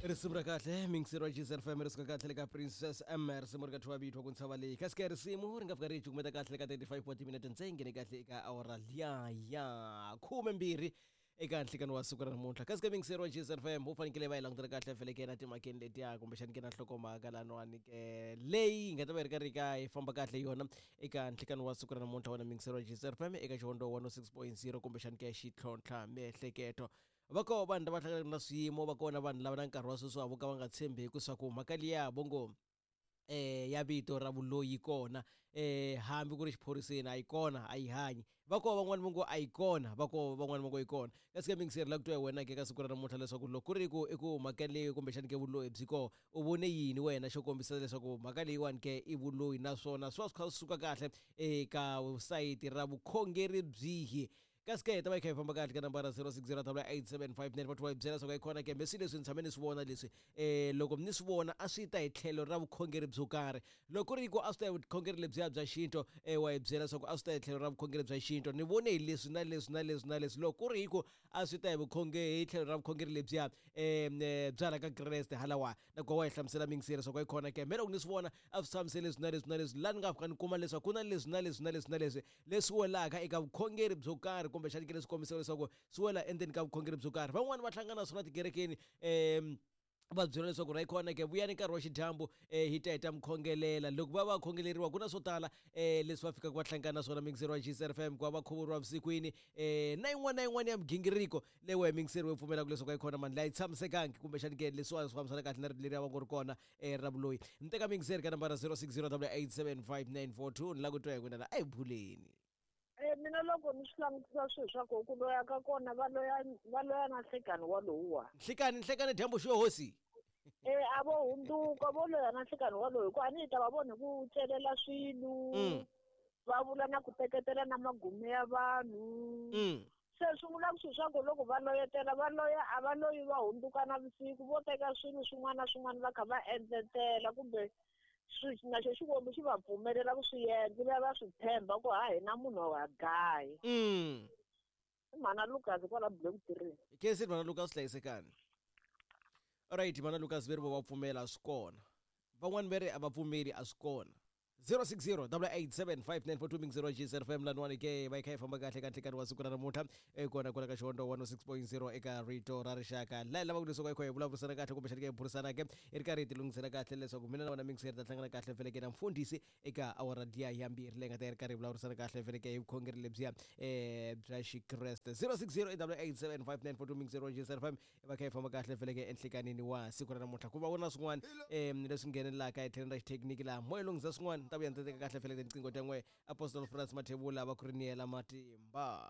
Risimu ra kahle mingiseri wa GZFM fm ri suka kahle le ka Princess M, risimu ri ka thiwa vito ku ntshava leyi. Kasi ke risimu ri nga fika ri hi cukumeta kahle ka 35 wa timinete ntsengeni kahle eka awara liya ya 12 eka nhlikani wa siku ra namuntlha. Kasi ke mingiseri wa GZFM u fanekele va yi langutela kahle feleke na timhakeni letiya kumbexani ke na nhlokomhaka laniwani ke leyi yi nga ta va yi ri karhi ka yi famba kahle yona eka nhlikani wa siku ra namuntlha. Wena mingiseri wa GZFM eka xihondo 106.0 kumbexani ke xitlhontlha miehleketo, va koho vanhu lava hlanganaka na swiyimo, va kona vanhu lava na nkarhi wa sweswi vo ka va nga tshembeki swa ku mhaka liya vo ngo ya vito ra vuloyi kona, hambi ku ri xiphoriseni a yi kona, a yi hanyi. Va koho van'wani vo ngo a yi kona, va koho van'wani vo ngo yi kona. Kasi ke mingiseri la ku twa hi wena ke ka siku ra namuntlha leswaku loko ku ri ku i ku mhaka leyi kumbexani ke vuloyi byi koho, u vone yini wena xo kombisa leswaku mhaka leyiwani ke i vuloyi, naswona swi va swi kha swi suka kahle eka sayiti ra vukhongeri byihi? Kasi ke hi ta va hi kha hi famba kahle ka nambara 06088759 va hi byela leswaku yi kona ke mbe swilo leswi ni tshame ni swi vona leswi, loko ni swi vona a swi ta hi tlhelo ra vukhongeri byo karhi. Loko ku ri ku a swi ta hi vukhongeri lebyiya bya xintu, wa hi byela leswaku a swi ta hi tlhelo ra vukhongeri bya xintu, ni vone hi leswi na leswi na leswi na leswi. Loko ku ri hi ku a swi ta hi vukhongeri hi tlhelo ra vukhongeri lebyiya bya la ka Kreste halawa, na ku wa hi hlamusela mingiseri leswaku yi kona ke me loko ni swi vona a swi tshamisele leswi na leswi na leswi, laha ni nga fika ni kuma leswaku ku na leswi na leswi na leswi na leswi leswi welaka eka vukhongeri byo karhi, kumbexani ke leswi kombisaka leswaku swi wela endzeni ka vukhongeri byo karhi. Van'wani va hlangana na swona tikerekeni, va byela leswaku ra yi kona ke vuyani nkarhi wa xidyambu, hi ta hi ta mi khongelela. Loko va va khongeleriwa ku na swo tala leswi va fikaka va hlangana na swona mingiseri wa GCFM, ku va va khuvuriwa vusikwini, na yin'wana na yin'wana ya migingiriko leyi wehe mingiseri wo pfumelaka leswaku a yi kona mani leyi a yi tshamisekangi, kumbexani ke leswiwani swi fambisana kahle na rito leri a va ngo ri kona ra vuloyi. Ni teka mingiseri ka nambara 0608875942, ni lava ku twa hi n'wina la a hi buleni. Mina loko ni swi langutisa swilo swa ku loya ka kona va loya, va loya na nhlekani walowuwa. Nhlekani, nhlekani dyambu xo hosi. A vo hundzuka vo loya na nhlekani walowu, hikuva a ni yi ta va vona hi ku celela swilo, va vula na ku teketela na magume ya vanhu. Se swi vula ku swilo swa ku loko va loyetela va loya, a va loyi va hundzuka na vusiku, vo teka swilo swin'wana na swin'wana va kha va endletela, kumbe na xo Xikwembu xi va pfumelela ku swi endla, va va swi tshemba ku ha hina munhu wa gayi. I mhana Lucas kwala Black Tree. Kesi mhana Lucas, hlayisekani. Alright mhana Lucas, ve ri vo va pfumela a swi kona, van'wani ve ri a va pfumeli a swi kona. 0608875942 mingizero GCFM laniwani ke va yi kha yi famba kahle ka nhlekani wa siku ra namuntlha, kona kwala ka xihondo 106.0 eka rito ra rixaka. Laha hi lavaka leswaku hi kha hi vulavurisana kahle kumbexani ke hi burisana ke hi ri karhi hi tilunghisela kahle leswaku mina na wena mingiseri ta hlangana kahle feleke na mfundhisi eka awara liya ya 2 leyi nga ta yi ri karhi hi vulavurisana kahle feleke hi vukhongeri lebyiya bya Xikreste. 0608875942 mingizero wa GCFM va kha yi famba kahle feleke enhlekanini wa siku ra namuntlha. Ku va ku na swin'wana leswi nghenelelaka hi tlhelo ra xithekiniki laha moya lunghisa swin'wana, ni ta vuya ni ta teka kahle feleke tinqingho ta n'we Apostle France Mathebula va ku ri niyela matimba.